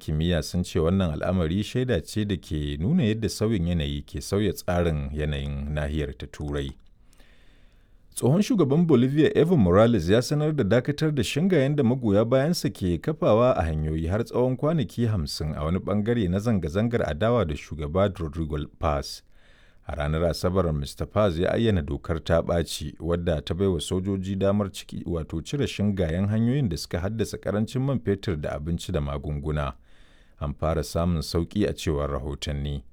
kimiyya sun ce wannan al'amari shaida ce da ke nuna yadda sauyin yanayi ke sauya tsarin yanayin nahiyar ta Turai. Tsohon shugaban Bolivia Evo Morales ya sanar da dakatar da shingayen da magoya bayansa ke kafawa a hanyoyi har tsawon kwanaki 50 a wani bangare na zanga-zangar adawa da shugaba Rodrigo Paz. A ranar Asabar Mr. Paz ya ayyana dokar ta ɓaci wadda ta baiwa sojoji damar ciki wato cire shingayen hanyoyin da suka haddasa karancin man fetur da abinci da magunguna. An fara samun sauƙi a cewar rahotanni.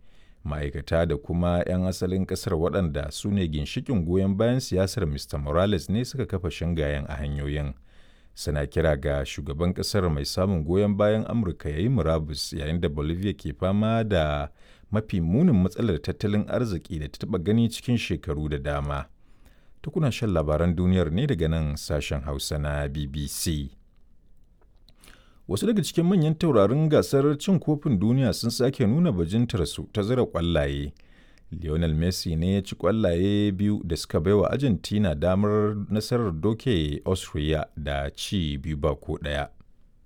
Ma'aikata da kuma 'yan asalin kasar waɗanda su ne ginshikin goyon bayan siyasar Mr. Morales ne suka kafa shingayen a hanyoyin. Suna kira ga shugaban kasar mai samun goyon bayan Amurka ya yi murabus yayin da Bolivia ke fama da mafi munin matsalar tattalin arziki da ta taɓa gani cikin shekaru da dama. Tukuna shan labaran duniyar ne daga nan sashen Hausa na BBC. Wasu daga cikin manyan taurarin gasar cin kofin duniya sun sake nuna bajintarsu ta zira kwallaye. Lionel Messi ne ya ci kwallaye biyu da suka baiwa Argentina damar nasarar doke Austria da ci 2-1.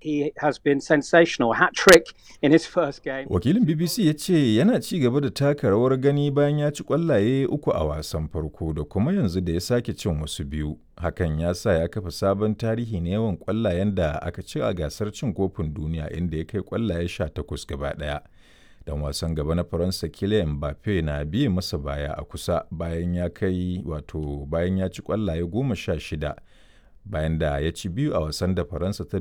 He has been sensational. Hat trick in his first game. Wakilin BBC ya ce yana ci gaba da taka rawar gani bayan ya ci kwallaye uku a wasan farko da kuma yanzu da ya sake cin wasu biyu. Hakan ya sa ya kafa sabon tarihi na yawan kwallayen da aka ci a gasar cin kofin duniya, inda ya kai kwallaye 18 gaba ɗaya. Dan wasan gaba na Faransa Kylian Mbappe na biye masa baya a kusa bayan ya kai wato bayan ya ci kwallaye 16 bayan da ya ci biyu a wasan da Faransa ta